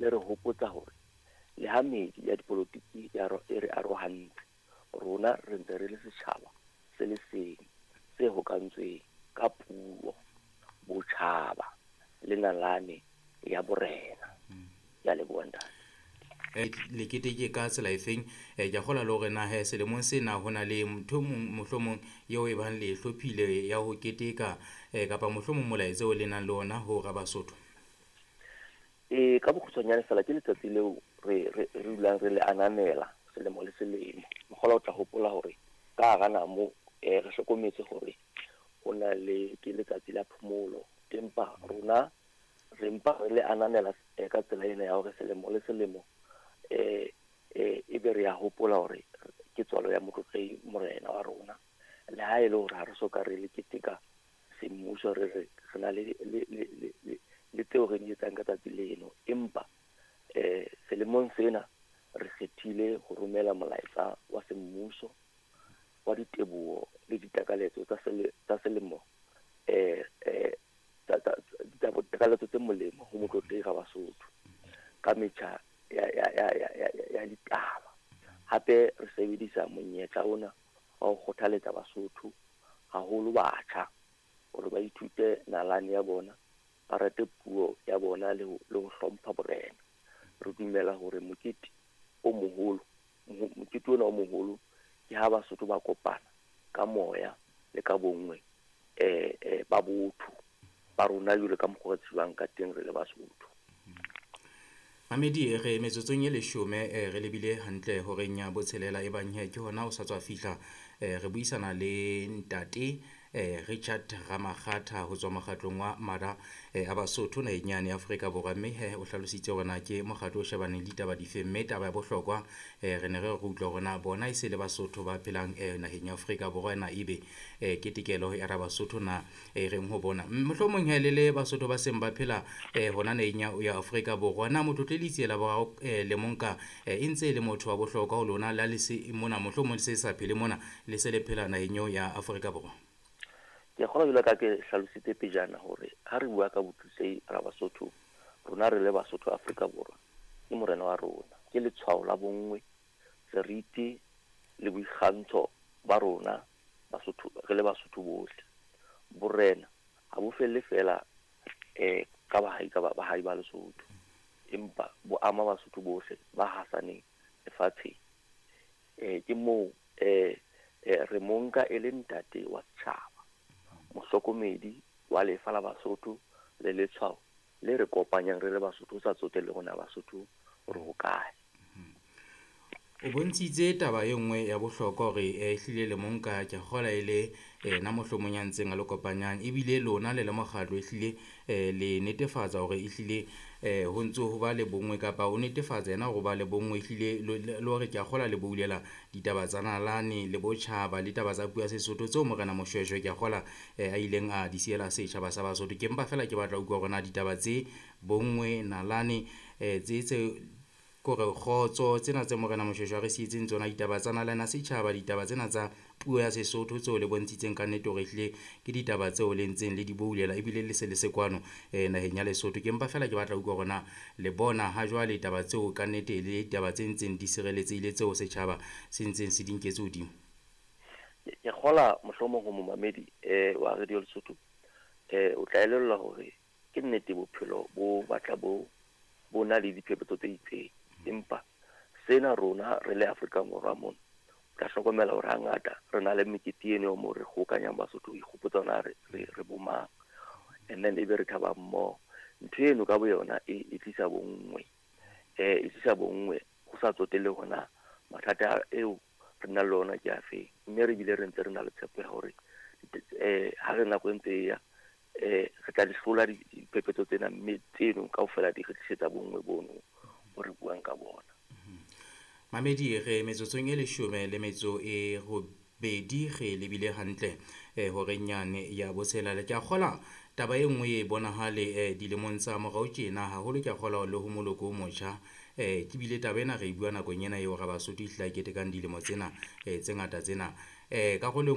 Le re hopotsa hore le ha meedi ya dipolotiki e re arohantse, rona re ntse re le setjhaba se le seng se hokahantsweng ka puo, botjhaba le nalane ya borena. Ke a leboha, ntate. Le keteke ka tsela efeng? Ke a kgolwa le hore na he selemong sena ho na le ntho mong mohlomong eo e bang le hlophile ya ho keteka, kapa mohlomong molaetsa o le nang le ona ho Rabasotho. Ee, ka bokgutshwanyane fela ke letsatsi leo re dulang re le ananela selemo le selemo. Mokgola, o tla hopola hore ka hara namo re hlokometse hore ho na le ke letsatsi la phomolo, empa rona re mpa re le ananela ka tsela ena ya hore selemo le selemo ebe re ya hopola hore ke tswalo ya Motlotlehi morena wa rona. Le ha e le hore ha re soka re le keteka semmuso, re na le tseo re di etsang ka tsatsi leno, empa selemong sena re kgethile ho romela molaetsa wa semmuso wa diteboho le ditakaletso tsa selemo, ditakaletso tse molemo ho Motlotlehi Rabasotho ka metjha ya ditaba. Hape re sebedisa monyetla ona wa ho kgothaletsa Basotho, haholo batjha, hore ba ithute nalane ya bona, ba rate puo ya bona le ho hlompha borena. Re dumela hore mokete o moholo, mokete ona o moholo ke ha Basotho ba kopana ka moya le ka bonngwe ba botho ba rona jwalo ka mokgwa re tsebang ka teng re le Basotho. Mamedi, re metsotsong e 10, re lebile hantle horeng ya botshelela e bang he ke hona o sa tswa fihla. Re buisana le ntate Richard Ramakgatha ho tswa mokgatlong wa Mara a Basotho naheng yane ya Afrika Borwa, mme he o hlalositse hore na ke mokgatlo o shebaneng le ditaba dife, mme taba ya bohlokwa re ne re utlwa hore na bona e se le Basotho ba phelang naheng ya Afrika Borwa na ebe ketekelo ya Rabasotho na e reng ho bona. Mohlomong he le le Basotho ba seng ba phela hona naheng ya Afrika Borwa, na Motlotlehi Letsie la Boraro le monka e ntse e le motho wa bohlokwa ho lona le ha le se mona, mohlomong le se sa phele mona, le se le phela naheng eo ya Afrika Borwa? Ke kgolwa jwalo ka ke hlalositse pejana hore ha re bua ka Motlotlehi Rabasotho, rona re le Basotho Afrika Borwa, ke morena wa rona, ke letshwao la bonngwe, seriti le boikgantsho ba rona Basotho, re le Basotho bohle. Borena ha bo felle fela ka bahai ka bahai ba Lesotho, empa bo ama Basotho bohle ba hasaneng lefatsheng. Ke moo re monka e le ntate wa setjhaba, mohlokomedi wa lefa la Basotho le letshwao le re kopanyang re le Basotho, ho sa tsotelle hore na Basotho re hokae. O bontshitse taba e nngwe ya bohlokwa hore ehlile le monka ke kgola e le na mohlomong ya ntseng a le kopanyang, ebile lona le le mokgatlo ehlile le netefatsa hore ehlile ho ntso ho ba le bonngwe, kapa o netefatsa yena hore ba le bonngwe ehlile le hore ke a kgola le boulela ditaba tsa nalane le botjhaba le taba tsa puo ya Sesotho tseo morena Moshoeshoe ke a kgola a ileng a di siela setjhaba sa Basotho. Ke mpa fela ke batla ho utlwa hore na ditaba tse bonngwe, nalane, tse kore kgotso tsena tse morena Moshoeshoe a re sietseng tsona, ditaba tsa nalane ya setjhaba, ditaba tsena tsa puo ya Sesotho tseo le bontshitseng ka nnete hore ehlile ke ditaba tseo le ntseng le di boulela ebile le se le se kwano naheng ya Lesotho. Ke mpa fela ke batla ho utlwa hore na le bona ha jwale taba tseo ka nnete le ditaba tse ntseng di sireletsehile tseo setjhaba se ntseng se di nketse hodimo. Ke kgola mohlomong ho momamedi wa Radio Lesotho, o tla elellwa hore ke nnete bophelo bo batla bo na le diphephetso tse itseng, empa sena rona re le Afrika Borwa mona o tla hlokomela hore hangata re na le mekete eno moo re kgokanyang Basotho ho ikgopotsa hore re bo mang, and then ebe re thaba mmoho. Ntho eno ka boyona e tlisa bonngwe, e tlisa bonngwe ho sa tsotelle hore na mathata eo re nang le ona ke afe, mme re bile re ntse re na le tshepo ya hore ha re nako e ntse e ya re tla di hlola diphephetso tsena, mme tseno kaofela di re tlisetsa bonngwe bono bo re buang ka bona. Mamedi, re metsotsong e 18 re lebile hantle horeng yane ya botshelela. Ke a kgola taba e nngwe e bonahale dilemong tsa morao tjena haholo, ke a kgola le ho moloko o motjha. Ke bile taba ena re e bua nakong ena eo Rabasotho ehlile a ketekang dilemo tsena tse ngata tsena. Karolo